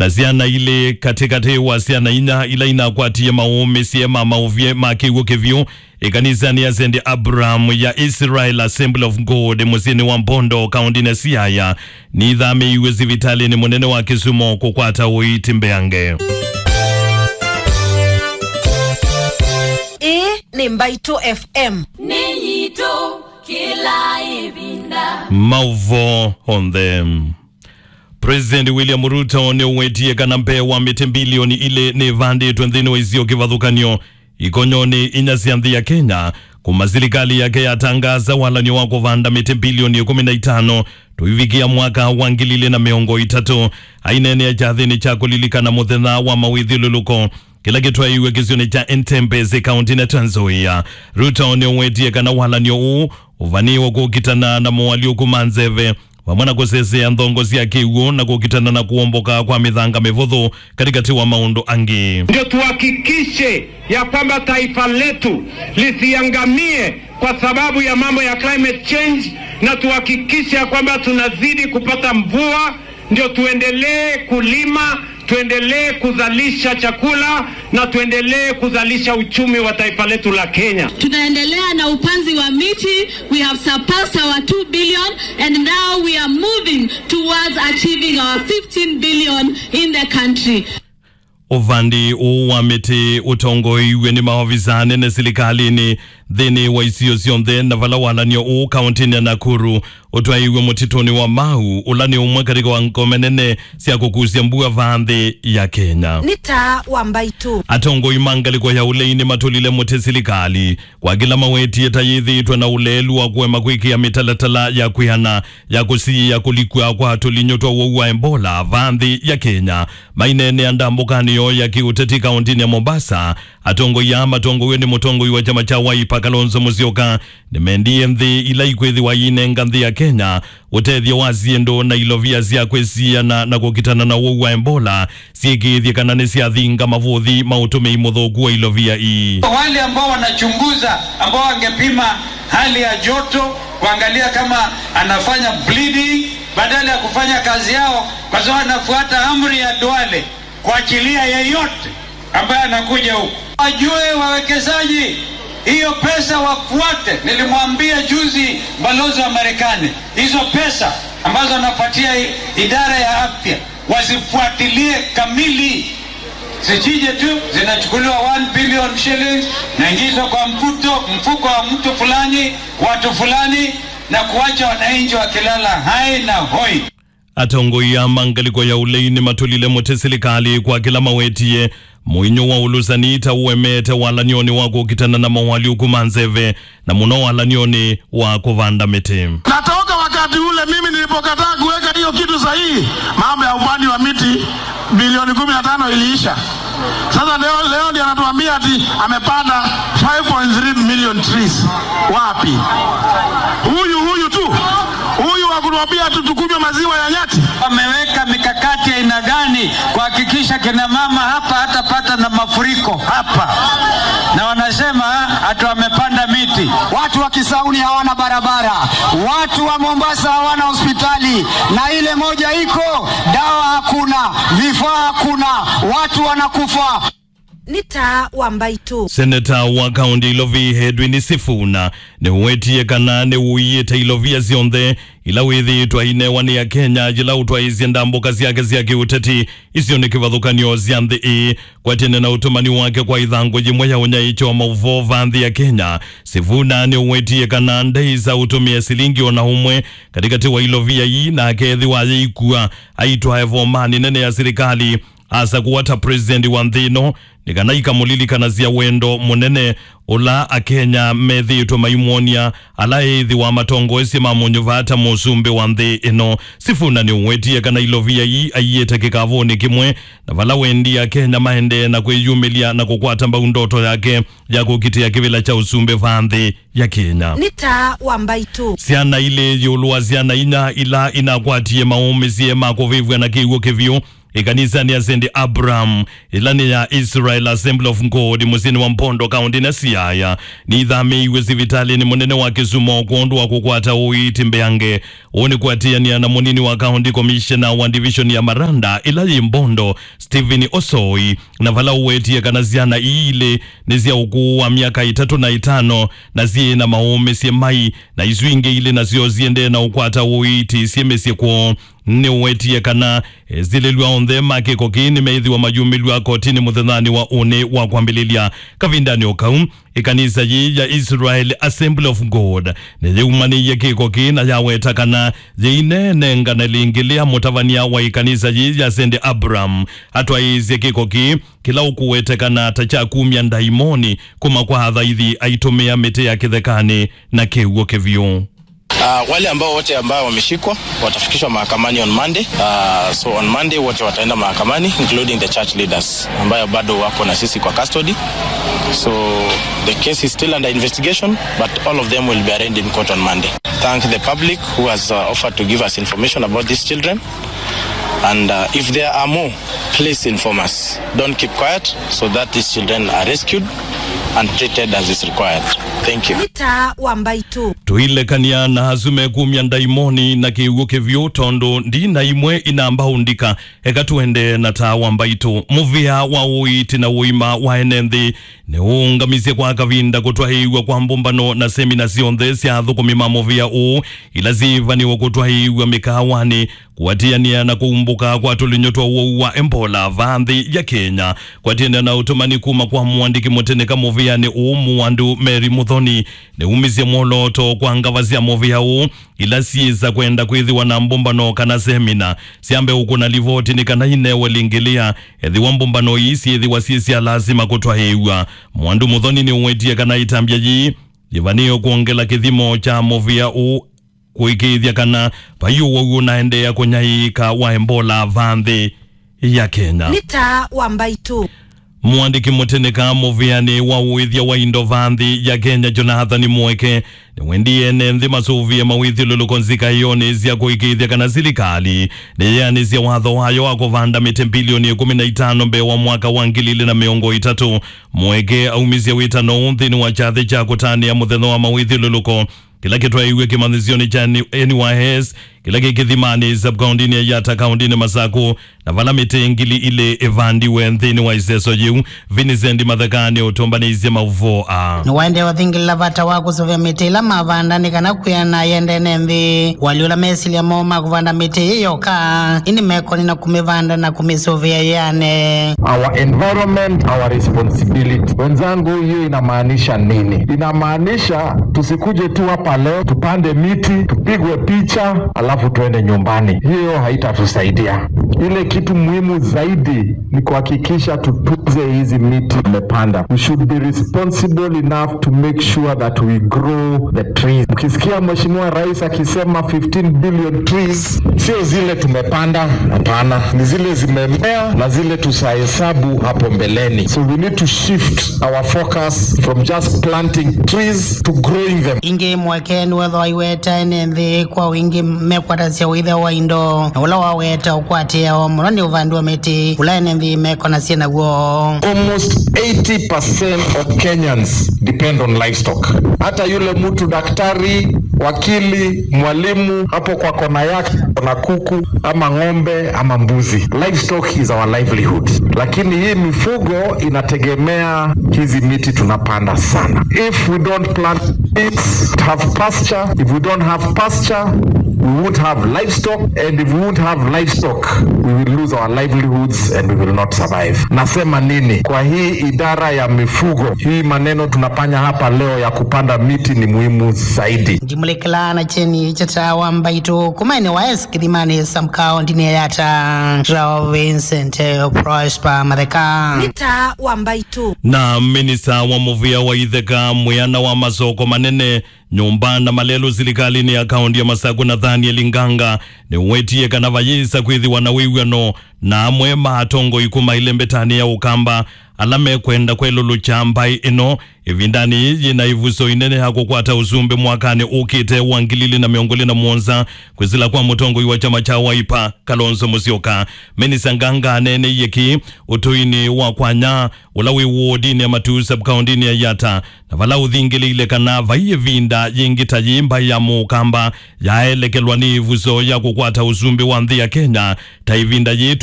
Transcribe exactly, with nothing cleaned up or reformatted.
Na syana ilĩ katĩkatĩ wa syana inya ila inakwatie maũmĩsye ma maũvye ma kĩw'ũ kĩvyũ ĩkanisanĩ ya Saint Abraham ya Israel Assembly of God mũsyĩnĩ wa Mbondo, kaũntĩnĩ ya Siaya, nithamĩiw'e sivitalĩnĩ mũnene wa Kisumu kũkwata ũiiti mbeange. Ĩĩ nĩ Mbaitũ F M. Nĩ yitũ kĩla ĩvinda. Maũvoo onthe. President William Ruto nĩũwetie kana mbee wa mĩtĩ mbilioni ilĩ nĩvandĩtwe nthĩnĩ wa isio kĩvathũkany'o ikonyonĩ inya sya nthĩ ya Kenya, kuma silikalĩ yake yatangaasa walany'o wa kũvanda mĩtĩ mbilioni ĩkũmi na itano tũivikĩa mwaka wa ngili ilĩ na mĩongo ĩtatũ. Aineenea kyathĩnĩ kya kũlilikana mũthenya wa mawĩthyũlũlũko kĩla kĩtwaĩiwe kĩsionĩ kya Entebbe kaũntĩnĩ ya Trans Nzoia, Ruto nĩũwetie kana walany'o ũũ ũvanĩĩwe kũkitana na moalyũku ma nzeve vamwe na kũsesea nthongo sya kĩw'ũ na kũkitana na kũomboka kwa mĩthanga mĩvũthũ katĩkatĩ wa maũndũ angĩ. Ndio tuhakikishe ya kwamba taifa letu lisiangamie kwa sababu ya mambo ya climate change, na tuhakikishe ya kwamba tunazidi kupata mvua, ndio tuendelee kulima, tuendelee kuzalisha chakula na tuendelee kuzalisha uchumi wa taifa letu la Kenya. Tunaendelea na upanzi wa miti. We have surpassed our two billion and now we are moving towards achieving our fifteen billion in the country. Ũvandi ũũ wa mĩtĩ ũtongoeiw'e nĩ maovisa anene silikalĩnĩ nthĩnĩ wa isio syonthe, na vala walany'o ũũ kaũntĩnĩ ya Nakuru ũtwaĩiw'e mũtitũnĩ wa Mau, ũla nĩ ũmwe katĩ wa ngome nene sya kũkusya mbua vaa nthĩ ya Kenya. Nĩ taa wa Mbaitũ. Atongoi ma ngalĩko ya ũlei nĩmatũlile mũtĩ silikalĩ kwa kĩla mawetie ta yĩthĩĩtwe na ũleelu wa kũema kwĩkĩa mĩtalatala ya kwĩana ya kũsiĩĩa kũlikw'a kwa tũlinyũ twa ũwau wa Ebola vaa nthĩ ya Kenya. Maineenea ndambũkanĩ yoo ya kĩũteti kaũntĩnĩ ya Mombasa, atongoi aa matongoew'e nĩ mũtongoi wa kyama kya Wiper Kalonzo Musyoka nĩmendie nthĩ ila ikwĩthĩwa iinenga nthĩ ya Kenya ũtethyo wa syĩndũ na ilovia sya kwĩsiana na kũkitana na ũwau wa Ebola syĩkĩĩthye kana nĩsyathinga mavũthi ma ũtũmĩi mũthũku wa ilovia ii. Wale ambao wanachunguza, ambao wangepima hali ya joto, kuangalia kama anafanya bleeding, badala ya kufanya kazi yao, kwa sababu anafuata amri ya Duale kuachilia yeyote ambaye anakuja huku. Wajue wawekezaji, hiyo pesa wafuate. Nilimwambia juzi balozi wa Marekani, hizo pesa ambazo anapatia i-, idara ya afya, wazifuatilie kamili. Zisije tu zinachukuliwa one billion shillings, naingizwa kwa mfuto, mfuko wa mtu fulani, watu fulani, na kuacha wananchi wakilala hai na hoi. Atongoi aa ma ngalĩko ya ũlei nĩmatũlile mũtĩ silikalĩ kwa kĩla mawetie mũinyũ wa ũlũsani ta ũemete walany'onĩ wa kũkitana na moalyũku ma nzeve, na mũno walany'onĩ wa kũvanda mĩtĩ. Na toka wakati ule mimi nilipokataa kuweka hiyo kitu sahihi, mambo ya upanzi wa miti bilioni kumi na tano iliisha. Sasa leo, leo ndiye anatuambia ati amepanda five point three million trees. Wapi? Huyu, huyu tu. Huyu wa kutuambia tu tukunywe maziwa ya nyati. Wameweka mikakati ya aina gani kuhakikisha kina mama hapa hatapata na mafuriko hapa? Na wanasema ati wamepanda miti. Watu wa Kisauni hawana barabara. Watu wa Mombasa hawana hospitali. Na ile moja iko, dawa hakuna, vifaa hakuna, watu wanakufa. Nĩ taa wa Mbaitũ. Seneta wa kaũntĩ Ilovi Edwin Sifuna nĩwetie kana nĩwũiĩte ilovia syonthe ila wĩthĩĩtwe ainewa nĩ Akenya yĩla ũtwaĩĩsye ndambũka syake sya kĩũteti isionĩ kĩvathũkany'o sya nthĩ ĩĩ. Kwatene na ũtũmani wake kwa ĩthangũ yĩmwe ya ũnyaĩĩkyo wa maũvoo va nthĩ ya Kenya, Sifuna nĩwetie kana ndaĩsa ũtũmĩa silingi o na ũmwe katĩkatĩ wa ilovia ii, na akethĩwa ayĩikua aitwae vomanĩ nene ya silikalĩ asakũwa ta president wa nthĩ ĩno, nĩ kana ikamũlilikanasya wendo mũnene ũla Akenya methĩĩtwe maimwony'a ala eĩthĩwa matongoesye mamũnyuvaa ta mũsumbĩ wa nthĩ ĩno. Sifuna nĩũwetie kana ilovia ii aiĩte kĩkavũnĩ kĩmwe, na vala wendie Akenya maendee na kwĩyumĩlya na kũkwata mbau ndoto yake ya kũkitĩa kĩvĩla kya ũsumbĩ va nthĩ ya Kenya. Nĩ taa wa Mbaitũ. Syana ilĩ ĩũlũ wa syana inya ila inakwatie maũmĩsye ma kũvĩvw'a na kĩw'ũ kĩvyũ ĩkanisanĩ ya Saint Abraham, ĩla nĩ ya Israel Assembly of God, mũsyĩnĩ wa Mbondo, kaũntĩnĩ ya Siaya, nĩithamĩĩiw'e sivitalĩnĩ mũnene wa Kisumu kwondũ wa kũkwata ũiiti mbeange. Ũũ nĩ kũatĩanĩa na mũnini wa county commissioner wa division ya Maranda ĩla yĩ Mbondo, Stephen Osoi, na vala ũwetie kana syana ii ilĩ nĩ sya ũkũũ wa myaka ĩtatũ na ĩtano, na syĩ na maũmĩsye mai, na isu ingĩ ilĩ nasyo siendee na ũkwata ũiiti syĩ mĩsyĩ kwoo. Nĩũwetie kana esilĩlw'a onthe ma kĩko kĩĩ nĩmeĩthĩwa mayumĩlw'a kotinĩ mũthenyanĩ wa ũnĩ wa kwambĩlĩlya. Kavindanĩ o kau, ĩkanisa yĩĩ ya Israel Assembly of God nĩyĩumanĩie kĩko kĩĩ na yaweta kana yĩineenengana lĩngĩ lĩa mũtavany'a wa ĩkanisa yĩĩ ya Saint Abraham atwaĩĩsye kĩko kĩĩ kĩla ũkũwetekana ta kya kumya ndaimoni kuma kwa athaithi aitũmĩa mĩtĩ ya kĩthekanĩ na kĩw'ũ kĩvyũ. Uh, wale ambao wote ambao wameshikwa watafikishwa mahakamani on Monday. Uh, so on Monday wote wataenda mahakamani, including the church leaders ambayo bado wako na sisi kwa custody. So the case is still under investigation, but all of them will be arraigned in court on Monday. Thank the public who has, uh, offered to give us information about these children. And, uh, if there are more, please inform us. Don't keep quiet so that these children are rescued and treated as is required. Thank you. Nĩ taa wa mbaitũ. Tũilekany'a na asu mekumya ndaimoni na kĩw'ũ kĩvyũ tondũ ndina imwe inamba ũndika. Eka tũende na taa wa mbaitũ. Mũvĩa wa ũiiti na ũima wa ene nthĩ nĩũũngamisye kwa kavinda kũtwaĩĩw'a kwa mbũmbano na semina syonthe sya athũkũmi ma mũvĩa ũũ ila syĩĩvanĩwe kũtwaĩĩw'a mĩkaawanĩ, kũatĩanĩa na kũumbũka kwa tũlinyũ twa ũwau wa Ebola vaa nthĩ ya Kenya. Kũatĩanĩa na ũtũmani kuma kwa mũandĩki mũtĩnĩka mũvĩanĩ ũũ Mwandu Mary Muthoni nĩumisye mwolooto kwa ngava sya mũvĩa ũũ ila syĩsa kwenda kwĩthĩwa na mbũmbano kana semina syambe ũkũna livoti nĩ kana inewe lĩngĩlĩa ethĩwa mbũmbano ii syĩthĩwa syĩ sya lasima kũtwaĩĩw'a. Mwandu Muthoni nĩũwetie kana ĩtambya yĩĩ yĩvanĩĩwe kwongela kĩthimo kya mũvĩa ũũ kũĩkĩĩthya kana vai ũwau ũnaendeea kũnyaĩĩka wa Ebola vaa nthĩ ya Kenya. Nĩ taa wa mbaitũ. Mũandĩki mũtĩnĩka mũvĩanĩ wa ũĩthya wa indo vaa nthĩ ya Kenya, Jonathan Mweke, nĩwendie ene nthĩ masũvĩe mawĩthyũlũlũko nzikaĩonĩ sya kũĩkĩĩthya kana silikalĩ nĩyeanĩsya watho wayo wa kũvanda mĩtĩ mbilioni ĩkũmi na itano mbee wa mwaka wa ngili ilĩ na mĩongo ĩtatũ. Mweke aumisye wĩtano ũũ nthĩnĩ wa kyathĩ kya kũtanĩa mũthenya wa mawĩthyũlũlũko kĩla kĩtwaĩiw'e kĩmanyĩsyonĩ kya N Y S, kĩla kĩ Kĩthimanĩ, sub-kaũntinĩ ya Yatta, kaũntinĩ Masaku, na vala mĩtĩ ngili ilĩ ĩvandiwe nthĩnĩ wa ĩseso yĩu. Vincent Matheka nĩũtũmbanĩisye maũvoo aa. Nĩwaendee ũthingĩlĩla vata wa kũsũvĩa mĩtĩ ĩla mavanda nĩ kana kwĩana yende ene nthĩ. Wali ũla mesilya moo ma kũvanda mĩtĩ ĩĩ yoka, ĩndĩ mekoni na kũmĩvanda na kũmĩsũvĩa yĩane. Our environment, our responsibility. Wenzangu, hiyo inamaanisha nini? Inamaanisha tusikuje tu hapa leo, tupande miti, tupigwe picha, alafu tuende nyumbani. Hiyo haitatusaidia. Ile kitu muhimu zaidi ni kuhakikisha tutunze hizi miti tumepanda. We should be responsible enough to make sure that we grow the trees. Ukisikia Mheshimiwa Rais akisema fifteen billion trees, sio zile tumepanda, hapana, ni zile zimemea na zile tutahesabu hapo mbeleni. So we need to shift our focus from just planting trees to growing them. Ĩngĩ Mweke nĩwethwa aiweta ene nthĩ kwa wingĩ mekwatasya ũĩthya wa indo, na ũla waweta ũkwatĩawa mũno nĩ ũvandi wa mĩtĩ ũla ene nthĩ mekonasya naw'o. Almost eighty percent of Kenyans depend on livestock. Hata yule mtu daktari, wakili, mwalimu, hapo kwa kona yake kuna kuku ama ng'ombe ama mbuzi. Livestock is our livelihood. Lakini hii mifugo inategemea hizi miti tunapanda sana. If we don't plant trees, have pasture, if we don't have pasture, we won't have livestock, and if we won't have livestock, we will lose our livelihoods and we will not survive. Nasema nini? Kwa hii idara ya mifugo, hii maneno tunafanya hapa leo ya kupanda miti ni muhimu zaidi. Ndimulekela na kyeni kya taa wa mbaitũ kuma ene wa S Kĩthimanĩ sub-kaũntinĩ ya Yatta, Rao Vincent Prosper Matheka. Nĩ taa wa mbaitũ. Na minista wa mũvĩa wa itheka, mwĩana wa masoko manene, nyũmba na malelũ silikalĩnĩ ya kaũnti ya Masaku, Nathaniel Nganga, nĩwetie kana vayĩsa kwĩthĩwa na wĩw'ano na amwe ma atongoi kuma ĩlembetanĩ ya Ũkamba ala mekwenda kwelũlũkya mbaĩ ĩno ĩvindanĩ yĩĩ yĩna ĩvuso ĩnene ya kũkwata ũsumbĩ mwakanĩ ũkĩte wa ngili ilĩ na mĩongo ĩlĩ na mũonza, kwĩsĩla kwa mũtongoi wa kyama kya Wiper, Kalonzo Musyoka. Minista Nganga aneeneie kĩĩ ũtũinĩ wa Kwanya, ũla wĩ wodinĩ ya Matuu, sub-kaũntĩnĩ ya Yatta, na vala ũthingĩlĩile kana vai ĩvinda yĩngĩ ta yĩĩ mbaĩ ya Mũkamba yaelekelwa nĩ ĩvuso ya kũkwata ũsumbĩ wa nthĩ ya Kenya ta ĩvinda yĩĩ